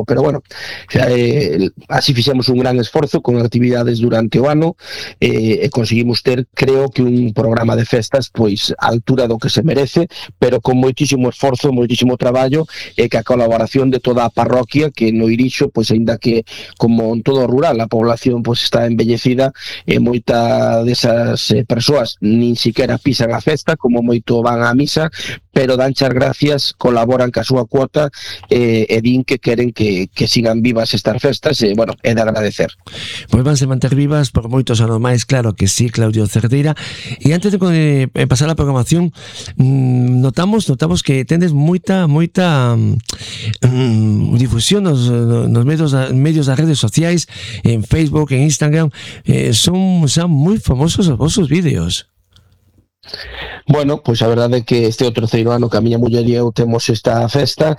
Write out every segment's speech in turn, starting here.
pero bueno, así fixemos un gran esforzo con actividades durante o ano, e conseguimos ter, creo que un programa de festas pois á altura do que se merece, pero con moitísimo esforzo, moitísimo traballo, e que a colaboración de toda a parroquia, que no Irixo, pois aínda que como en todo o rural a población pois está envellecida, e moita desas persoas nin siquiera pisan a festa, como moito van á misa, pero danche as gracias, colaboran ca súa cuota, e din que queren que sigan vivas estas festas, e bueno, é de agradecer. Pois vanse manter vivas por moitos anos máis, claro que sí, Claudio Cerdeira. E antes de pasar a programación, notamos que tendes moita difusión nos medios das redes sociais, en Facebook, en Instagram, son moi famosos os vosos vídeos. Bueno, pois a verdade é que este é o terceiro ano que a miña muller e eu temos esta festa,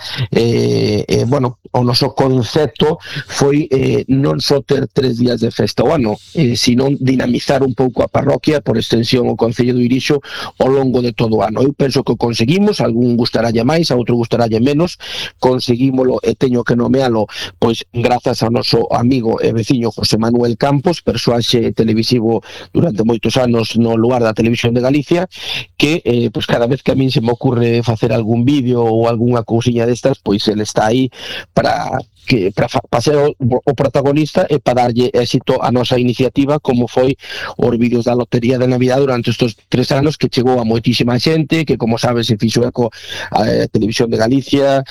bueno, o noso concepto foi non só ter 3 días de festa ao ano, sino dinamizar un pouco a parroquia, por extensión o Concello do Irixo, ao longo de todo o ano. Eu penso que o conseguimos, algún gustarálle máis, a outro gustarálle menos, conseguímolo, e teño que nomealo, pois grazas ao noso amigo e veciño José Manuel Campos, persoaxe televisivo durante moitos anos no lugar da Televisión de Galicia, que pues cada vez que a min se me ocurre facer algún vídeo ou algunha cousiña destas, pois ele está aí para ser o protagonista e para darlle éxito a nosa iniciativa, como foi os vídeos da Lotería de Navidad durante estes 3 anos, que chegou a moitísima xente, que como sabes se fixo eco a Televisión de Galicia,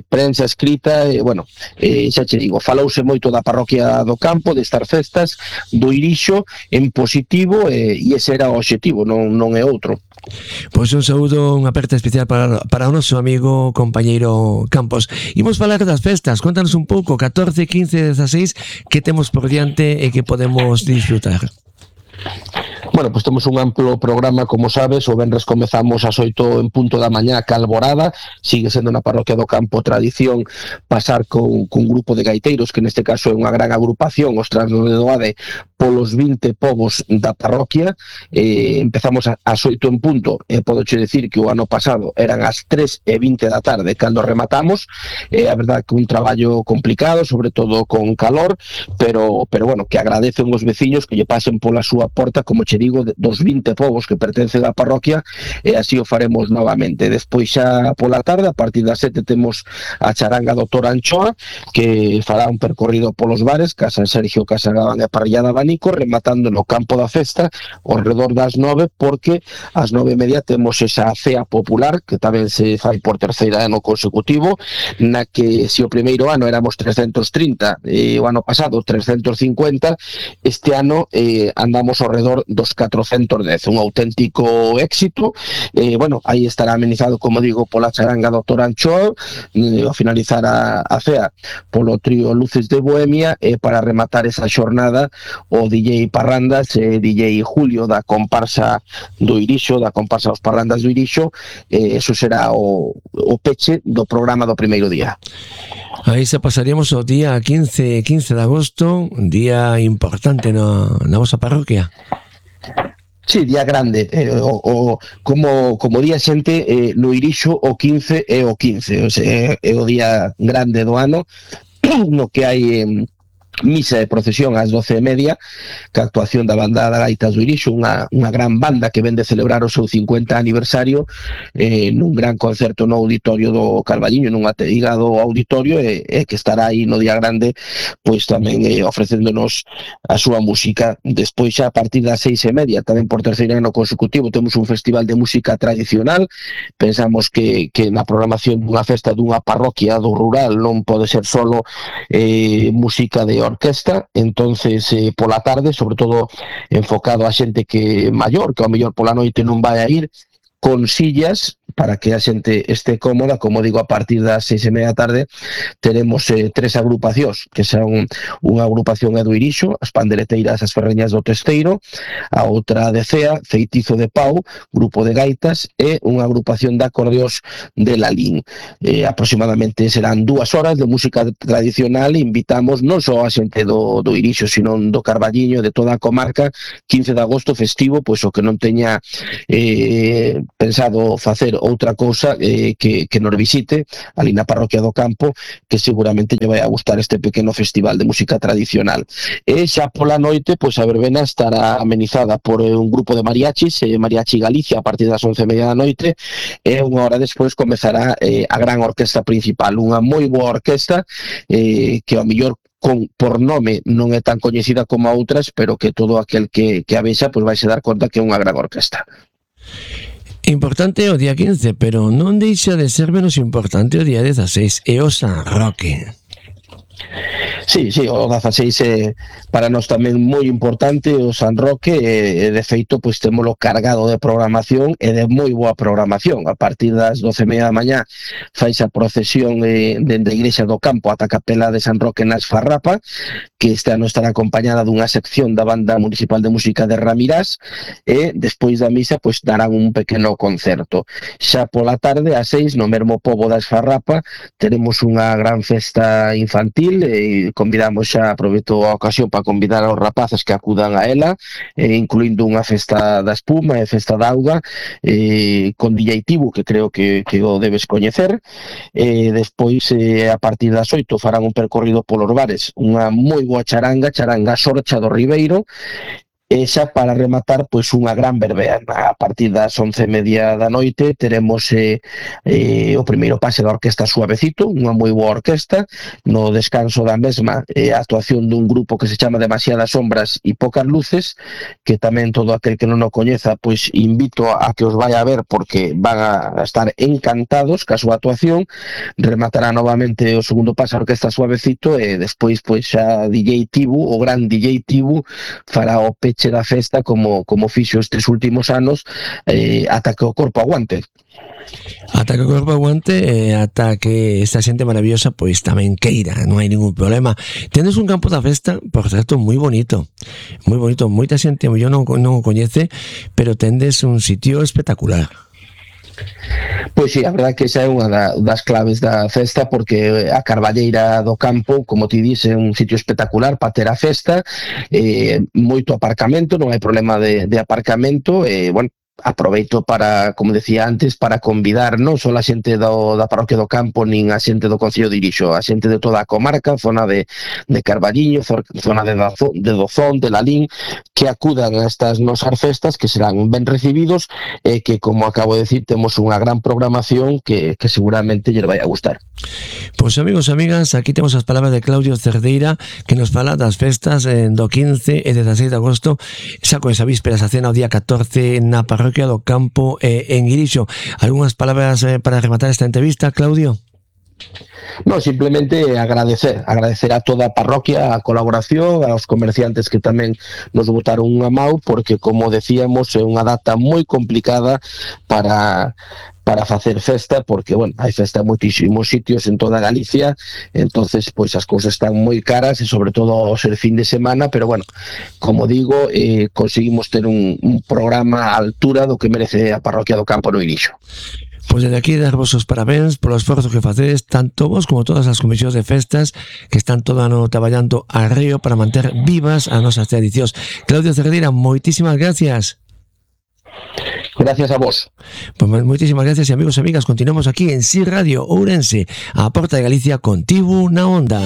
prensa escrita, bueno, xa che digo, falouse moito da parroquia do Campo, destas festas do Irixo en positivo, e ese era o obxectivo, non é outro. Pois un saúdo, unha aperta especial para o noso amigo compañeiro Campos. Imos falar das festas, contanos un pouco, 14, 15, 16, que temos por diante e que podemos disfrutar. Bueno, pois temos un amplo programa, como sabes, o venres comezamos ás 8 en punto da mañá, ca Alborada, sigue sendo na parroquia do Campo tradición pasar con un grupo de gaiteiros, que neste caso é unha gran agrupación, os Transnodedoade, polos 20 povos da parroquia, empezamos ás 8 en punto, e podoche decir que o ano pasado eran as 3:20 da tarde cando rematamos, a verdade que un traballo complicado, sobre todo con calor, pero bueno, que agradecen os veciños que lle pasen pola súa porta, como che digo, dos 20 povos que pertencen á parroquia, e así o faremos novamente. Despois xa pola tarde, a partir das 7 temos a charanga do Tor Anchoa, que fará un percorrido polos bares, Casa Sergio, Casa Gabán e Parrillada Abanico, rematando no campo da festa ao redor das 9, porque ás 9:30 temos esa cea popular, que tamén se fai por terceiro ano consecutivo, na que se o primeiro ano éramos 330, e o ano pasado 350, este ano andamos ao redor dos 410, un auténtico éxito. Bueno, aí estará amenizado, como digo, pola charanga do Tor Anchoa, ao finalizar a cea polo trío Luces de Bohemia, e para rematar esa xornada o DJ Parrandas e DJ Julio da comparsa do Irixo, da comparsa dos Parrandas do Irixo, eso será o peche do programa do primeiro día. Aí se pasaríamos o día 15 de agosto, un día importante na vosa parroquia. Sí, día grande, como día xente, no Irixo o 15 é o 15, o sea, é o día grande do ano, no que hai misa de procesión ás 12:30, que a actuación da banda da Gaitas do Irixo, unha gran banda que vende celebrar o seu 50 aniversario, nun gran concerto no auditorio do Carballiño, nun ateigado auditorio, e que estará aí no día grande, pois tamén ofrecéndonos a súa música. Despois xa a partir das 6:30, tamén por terceiro ano consecutivo, temos un festival de música tradicional. Pensamos que na programación dunha festa dunha parroquia do rural non pode ser solo música de orquesta, entonces pola tarde, sobre todo enfocado a xente que maior, que ao mellor pola noite non vai a ir, con sillas para que a xente este cómoda. Como digo, a partir das 6:30 da tarde teremos 3 agrupacións, que son unha agrupación do Irixo, as Pandereteiras, as Ferreñas do Testeiro, a outra de Cea, Feitizo de Pau, grupo de gaitas, e unha agrupación de acordeos de Lalín. Aproximadamente serán 2 horas de música tradicional. Invitamos non só a xente do Irixo, sino do Carballiño, de toda a comarca. 15 de agosto festivo, pois o que non teña pensado facer outra cousa que nos visite ali na parroquia do Campo, que seguramente lle vai a gustar este pequeno festival de música tradicional. E xa pola noite, pois a verbena estará amenizada por un grupo de mariachis, Mariachi Galicia, a partir das 11:30 da noite, e unha hora despois comezará a gran orquesta principal, unha moi boa orquesta que ao mellor por nome non é tan coñecida como a outras, pero que todo aquel que a vexa pois vai se dar conta que é unha gran orquesta. Importante o día 15, pero non deixa de ser menos importante o día 16, e o San Roque. Sí, o 16 é para nós tamén moi importante o San Roque, e de feito pois témolo cargado de programación e de moi boa programación. A partir das 12:30 da mañá faise a procesión dende a Igrexa do Campo ata a Capela de San Roque na Esfarrapa, que este ano estará acompañada dunha sección da Banda Municipal de Música de Ramirás, e despois da misa pois darán un pequeno concerto. Xa pola tarde, ás 6, no mesmo pobo da Esfarrapa, teremos unha gran festa infantil, e convidamos xa, aproveito a ocasión para convidar aos rapaces que acudan a ela, incluindo unha festa da espuma e festa da auga, con DJ Tibu, que creo que o debes coñecer. Despois, a partir das 8, farán un percorrido polos bares, unha moi boa charanga Sorcha do Ribeiro, e xa para rematar pois unha gran verbena. A partir das 11:30 da noite teremos o primeiro pase da Orquesta Suavecito, unha moi boa orquesta. No descanso da mesma, a actuación dun grupo que se chama Demasiadas Sombras e Pocas Luces, que tamén todo aquel que non o coñeza pois invito a que os vaya a ver, porque van a estar encantados ca súa actuación. Rematará novamente o segundo pase a Orquesta Suavecito, e despois pois xa DJ Tibu, o gran DJ Tibu, fará o peche da festa como fixo estes últimos anos, ata que o corpo aguante. Ata que o corpo aguante, ata que esta xente maravillosa pois tamén queira, non hai ningún problema. Tendes un campo da festa, por certo, moi bonito, moita xente eu non o coñece, pero tendes un sitio espectacular. Pois sí, a verdade que esa é unha das claves da festa, porque a Carballeira do Campo, como ti dis, é un sitio espectacular para ter a festa, moito aparcamento, non hai problema de aparcamento, bueno, aproveito para, como decía antes, para convidar non só a xente da parroquia do Campo, nin a xente do Concello de Irixo, a xente de toda a comarca, zona de Carballiño, zona de Dozón, de Lalín, que acudan a estas nosas festas, que serán ben recibidos, e que, como acabo de decir, temos unha gran programación que seguramente lle vai a gustar. Pois amigos e amigas, aquí temos as palabras de Claudio Cerdeira, que nos fala das festas do 15 e 16 de agosto, xa con esa vísperas a cena o día 14 na parroquia do Campo en Irixo. Algúnas palabras para rematar esta entrevista, Claudio? No, simplemente agradecer a toda a parroquia a colaboración, aos comerciantes que tamén nos botaron unha mau, porque, como decíamos, é unha data moi complicada para facer festa, porque, bueno, hai festa en moitísimos sitios en toda Galicia, entonces pois as cousas están moi caras, e sobre todo ao ser fin de semana, pero, bueno, como digo, conseguimos ter un programa á altura do que merece a parroquia do Campo no Irixo. Pois desde aquí darvos os parabéns polo esforzo que facedes, tanto vos como todas as comisións de festas que están todo ano traballando a río para manter vivas as nosas tradicións. Claudio Cerdeira, moitísimas gracias. Gracias a vos. Pues moitísimas gracias, e amigos e amigas, continuamos aquí en Si Radio Ourense, a porta de Galicia, contigo na onda.